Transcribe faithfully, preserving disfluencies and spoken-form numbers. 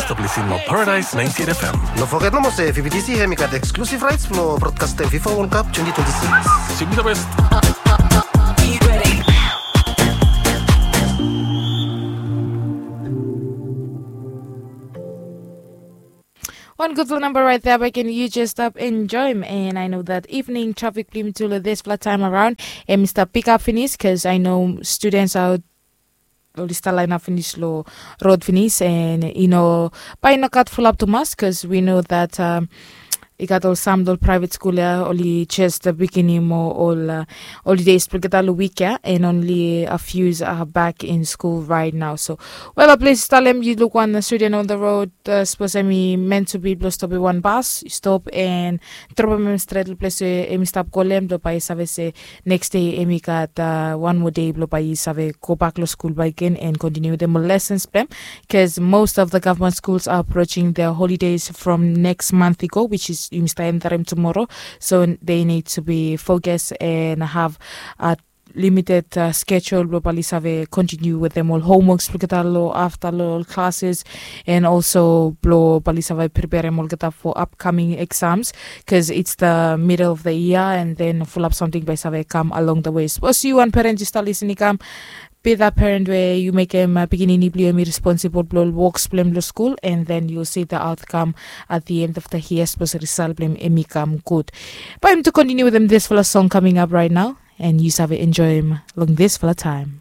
Stap lisin long Paradise ninety-eight F M. No foget nomo se V B T C hemi gat eksklusif raets blong brodkastem FIFA World Cup twenty twenty-six. Simi the best. One good little number right there, back in you just stop enjoy him. And I know that evening traffic blim to this flat time around. And Mr. Pick up finish, because I know students are oli stap lainap finis long rod finis, and i no, bae i no gat fulap tumas, because we know that um, i gat ol sam ol private skul ya oli just biginim ol uh, holidays blong olgeta long wik ya, and only a few are back in school right now. So well, a ples talem yu luk wan student on the road, uh, sapos em i meant to be blong stopim wan bas, yu stop and dropim em stret long ples we em i stap go long em, blong bae i save se next day em i gat uh, wan moa dei blong bae i save go bak long skul bakegen and continue with them lessons blong em, because most of the government schools are approaching their holidays from next month i go, which is yumi stap endarim tomorrow. So they need to be focused and have a limited uh, schedule blong bae oli save continue with them ol homeworks blong olgeta long afta long ol classes, and also blong bae oli save preparem olgeta for upcoming exams, because it's the middle of the year and then fulap samting bae i save kam along the way. Sapos yu wan parent yu stap lisin i kam, be that parent we yu mekem uh, pikinini blong yu em i responsible blong ol woks blong em long skul, and then you'll see the outcome at the end of the year, sapos result blong em em i kam gud. Bae yumi tu continue with them this fala song coming up right now, and yu save enjoy him long this fala time.